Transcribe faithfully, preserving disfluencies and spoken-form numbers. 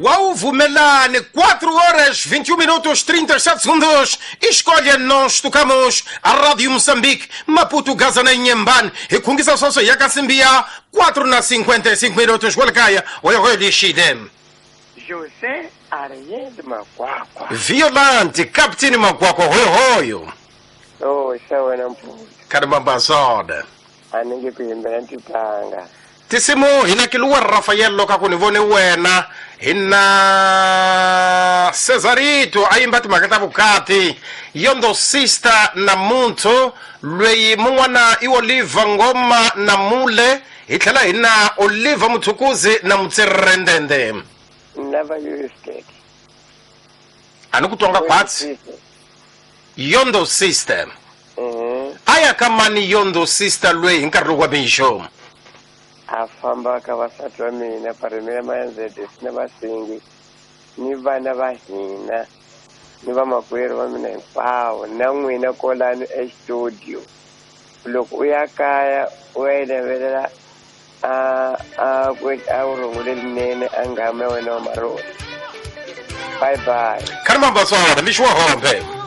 Wauvumelane, quatro horas, vinte e um minutos, trinta e sete segundos. Escolha, nós tocamos a Rádio Moçambique, Maputo, Gaza, na Inhambane. E com isso, só e a Cacimbia, quatro na cinquenta e cinco minutos. Walcaia, olha, olha, lixidem. José Ariel Makwakwa. Violante, Capitino Makwakwa, hoyo, hoyo. Oh, sawa mputa. Caramba, Aningi kuimbela ntipanga. Tisimu hina kiluwa Rafael loka kunivone wena hina Cesarito ayimba timhaka vukati yondo sister na muntu lweyi mun'wana i Oliver Ngoma na Mule hi tlhela hina Oliver Muthukuzi na Mutserendende. Never used it. Ani ku twanga khwatsi yondo sister. Mhm. Aya kamani yondo sister lweyi hi nkarhi lowu wa mixo. A famba ka vasati va mina parimela mayanzede na vasingi ni vana va hina ni vamakwerhu va mina hinkwavo na n'wina kolani estudio loko u ya kaya u ya yi levelela a a ku a wu rhungule linene a ngama ya wena wa marona. Bye bye. Kharimamba swona mixo wa hombe.